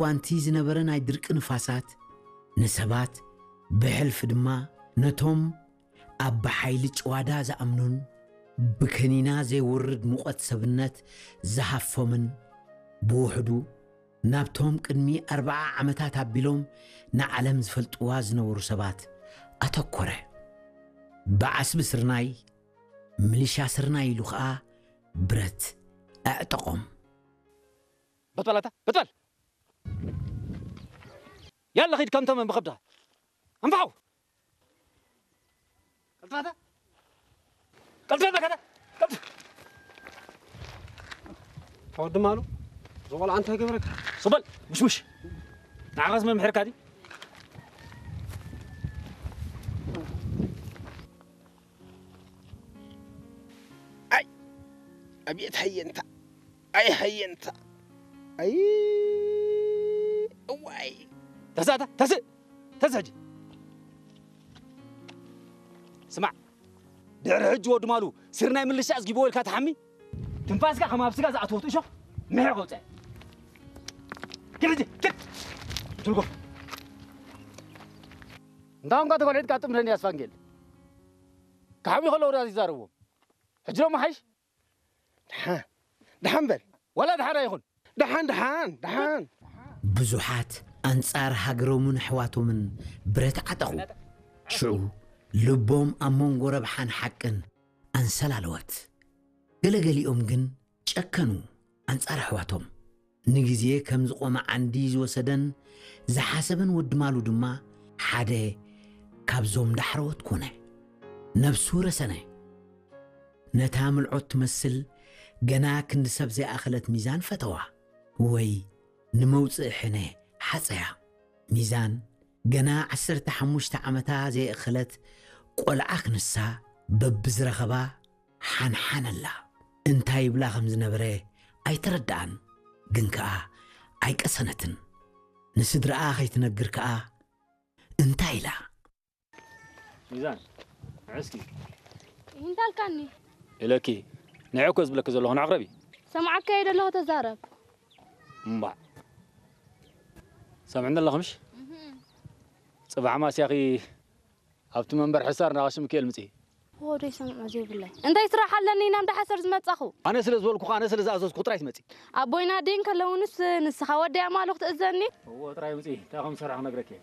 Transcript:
እዋንቲ ዝነበረ ናይ ድርቂ ንፋሳት፣ ንሰባት ብሕልፊ ድማ ነቶም ኣብ ብሓይሊ ጭዋዳ ዝኣምኑን ብከኒና ዘይውርድ ሙቐት ሰብነት ዝሃፎምን፣ ብውሕዱ ናብቶም ቅድሚ ኣርብዓ ዓመታት ኣቢሎም ንዓለም ዝፈልጥዋ ዝነበሩ ሰባት ኣተኮረ። ብዓስቢ ስርናይ፣ ሚሊሻ ስርናይ ኢሉ ኸኣ ብረት ኣዕጠቖም። በጥበል ኣታ፣ በጥበል! ያላ ኺድ ከምቶም ብኸብዳ። ኣንፋው! ቀልጥፍ ኣታ! ቀልጥፍ በል ኣታ! ቀልጥፍ! ተወዲ ማሉ፣ እዚ ቆልዓ እንታይ ገበረካ? ሱቕ በል፣ ሙሽሙሽ! ንዓኻስ መምሕርካ ድዩ? ኣይ! ኣብየት ሃየንታ! ኣይ ሃየንታ! ኣይ! እዋይ! ተስእ ኣታ! ተስእ! ተስእ ሕጂ! ስማዕ! ድሕሪ ሕጂ ወዲ ማሉ ስርናይ ምልሻ ኣዝጊብዎ ኢልካ ትሓሚ፣ ትንፋስካ ከም ኣብ ስጋ ዝኣተወት እሾኽ ምሕር ከውፅእ። ኪድ ሕጂ! ኪድ! ትርጎም! እንታ እንኳ ተኮልዒትካ ጥምረኒ ኣስፋንጌል። ክሓምዩ ከለዉ ዳኣ ይዛረብዎም። ሕጂ ደሞ ሓይሽ? ደሓን፣ ደሓን በል። ዋላ ደሓን ኣይኹን። ደሓን፣ ደሓን፣ ደሓን። ብዙሓት ኣንጻር ሃገሮምን ኣሕዋቶምን ብረት ዓጠቑ። ሽዑ ልቦም ኣብ መንጎ ረብሓን ሓቅን ኣንሰላለወት። ገለገሊኦም ግን ጨከኑ ኣንጻር ኣሕዋቶም። ንግዜ ከም ዝቖመ ዓንዲ ዝወሰደን ዝሓሰበን ወዲ ማሉ ድማ ሓደ ካብዞም ዳሕረዎት ኮነ። ነብሱ ረሰነ። ነታ ምልዖት ትመስል ገና ክንዲ ሰብ ዘይኣኸለት ሚዛን ፈተዋ፣ ወይ ንመውጽኢ ሕነ ሓጸያ። ሚዛን ገና ዓሰርተ ሓሙሽተ ዓመታ ዘየእኸለት ቆልዓ ክንሳ በብዝረኸባ ሓንሓነላ። እንታይ ይብላ ከም ዝነበረ ኣይተረድኣን፣ ግን ከኣ ኣይቀሰነትን። ንስድራኣ ከይትነግር ከኣ እንታይ ኢላ? ሚዛን፣ ንዒ እስኪ። እንታይ ኣልካኒ? ኢለኪ፣ ንዒ እኮ ዝብለኪ ዘለኹ፣ ንዕቕረቢ። ሰምዓካ እየ ዘለኹ፣ ተዛረብ። እምባዕ። ሰምዕኒ ኣለኺ ምሽ? እህ። ጽባሕ ማስያኺ ኣብቲ መንበር ሕሳር ናቐሺ ሚካኤል ምጺ። ወደይ ሰምዖ ዘይብለይ። እንታይ ስራሕ ኣለኒ ናብ ዳሓሰር ዝመጻኹ? ኣነ ስለ ዝበልኩ፣ ኣነ ስለ ዝኣዘዝኩ ጥራይ ትመጺ። ኣቦይና ዲን ከለውንስ ንስኻ ወደይ ኣማልኽ ትእዘኒ? እዎ፣ ጥራይ ምጺ። እንታይ ከም ዝሰርሕ ክነግረኪ እየ።